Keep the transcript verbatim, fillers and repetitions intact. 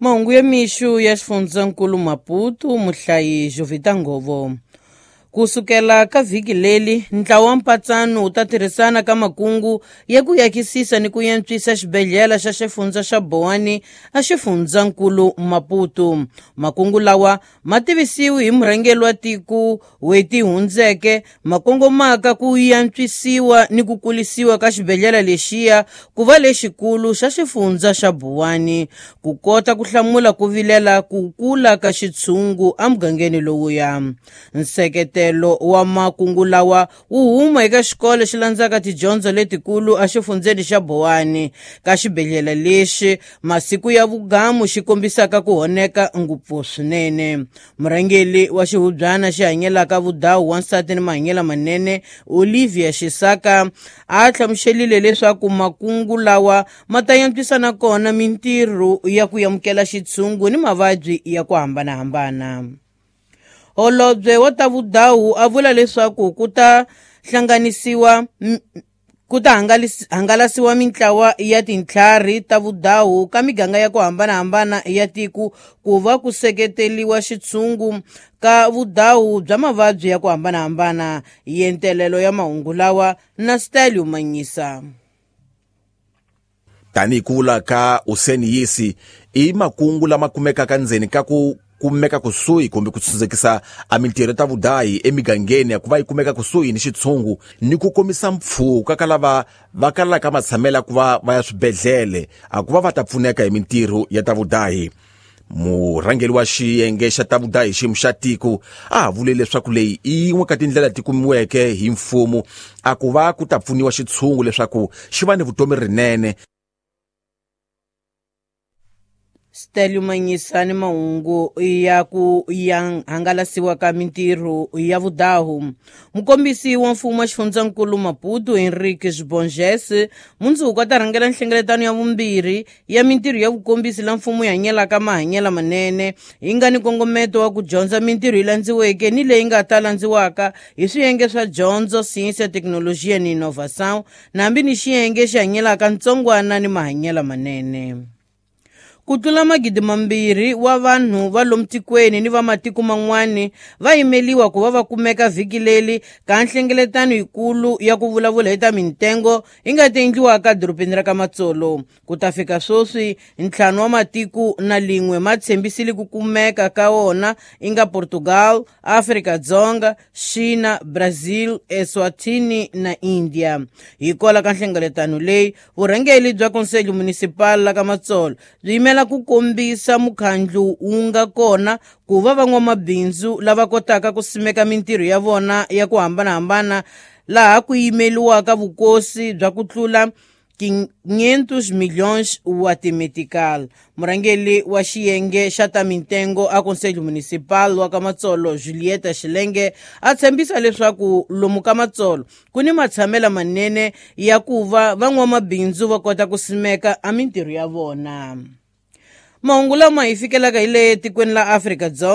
Mahungu ya mixo ya xifundzankulu Maputo, muhlayi Jovita Ngovo. Kusukela ka vhiki leri, ntlawa wa mpatsano wu ta tirhisana ka makungu ya ku yakisisa ni ku yantswisa xibedhlele xa xifundza xa Boane a xifundzankulu Maputo. Makungu lawa ma tivisiwe hi murhangeri wa tiko n'hweti hundzeke, ma kongomaka ku yantswisiwa ni ku kulisiwa ka xibedhlele lexiya ku va lexikulu xa xifundza xa Boane, ku kota ku hlamula ku vilela ku kula ka xitshungu emugangeni lowuya. Nseketelo wa makungu lawa wu huma eka xikolo xi landzaka tidyondzo letikulu exifundzeni xa Boane. Ka xibedhlele lexi masiku ya vugamu xi kombisaka ku honeka ngopfu swinene. Murhangeri wa xihubyana xi hanyelaka vudawu wansati ni mahanyelo manene Olivia Xisaka a hlamuselile leswaku makungu lawa ma ta yantswisa na kona mintirho ya ku amukela xitshungu ni mavabyi ya ku hambanahambana. Holobye wa ta vudawu a vula leswaku ku ta hlanganisiwa ku ta hangalasiwa mintlawa ya tintlhari ta vudawu ka miganga ya ku hambanahambana ya tiko ku va ku seketeliwa xitshungu ka vudawu bya mavabyi ya ku hambanahambana. Yentelelo ya mahungu lawa na Stalio Manyisa. Tanihi ku vula ka Hussein Yisi, i makungu lama kumekaka ndzeni ka ku kumeka kusuhi kumbe ku tsundzukisa a mintirho ta vudayi emigangeni ya ku va yi kumeka kusuhi ni xitshungu ni ku komisa mpfhuka ka lava va kalaka matshamela ku va va ya swibedhlele a ku va va ta pfuneka hi mintirho ya ta vudayi. Murhangeri wa xiyenge xa ta vudayi xiyimo xa tiko a ha vule leswaku leyi i yin'we ka tindlela ti kumiweke hi mfumo a ku va ku ta pfuniwa xitshungu leswaku xi va ni vutomi rinene. Stalio Manyisa ni mahungu ya ku ya hangalasiwa ka mintirho ya vudahu. Mukombisi wa mfumo wa xifundzankulu Maputo Henrique Borges mundzuku a ta rhangela nhlengeletano ya vumbirhi ya mintirho ya vukombisi la mfumo yi hanyelaka mahanyelo manene yi nga ni nkongometo wa ku dyondza mintirho yi landziweke ni leyi nga ta landziwaka hi swiyenge swa dyondzo, siyense, thekinolojiya ni innovação, na hambi ni xiyenge xi hanyelaka ntsongwana ni mahanyelo manene. Ku tlula magidi mambirhi wa vanhu va lomu tikweni ni va matiko man'wani va yimeliwa ku va va kumeka vhiki leri ka nhlengeletano yikulu ya ku vulavula hi ta mintengo yi nga ta endliwaka dorobeni ra ka Matsolo. Ku ta fika sweswi ntlhanu wa matiko na lin'we ma tshembisile ku kumeka ka wona i nga Portugal, Afrika-Dzonga, China, Brazil, Eswatini na India. Hi kwala ka nhlengeletano leyi, vurhangeri bya Conselho Municipal la ka Matsolo byi yimela ku kombisa mukhandlu wu nga kona ku va van'wamabindzu lava kotaka ku simeka mintirho ya vona ya ku hambanahambana laha ku yimeliwaka vukosi bya ku tlula quinhentos milhões wa timetical. Murhangeri wa xiyenge xa ta mintengo a Conselho Municipal wa ka Matsolo Julieta Xilenge a tshembisa leswaku lomu ka Matsolo ku ni matshamela manene ya ku va van'wamabindzu va kota ku simeka a mintirho ya vona. Mahungu lama hi fikelaka hi le tikweni la Afrika-Dzonga.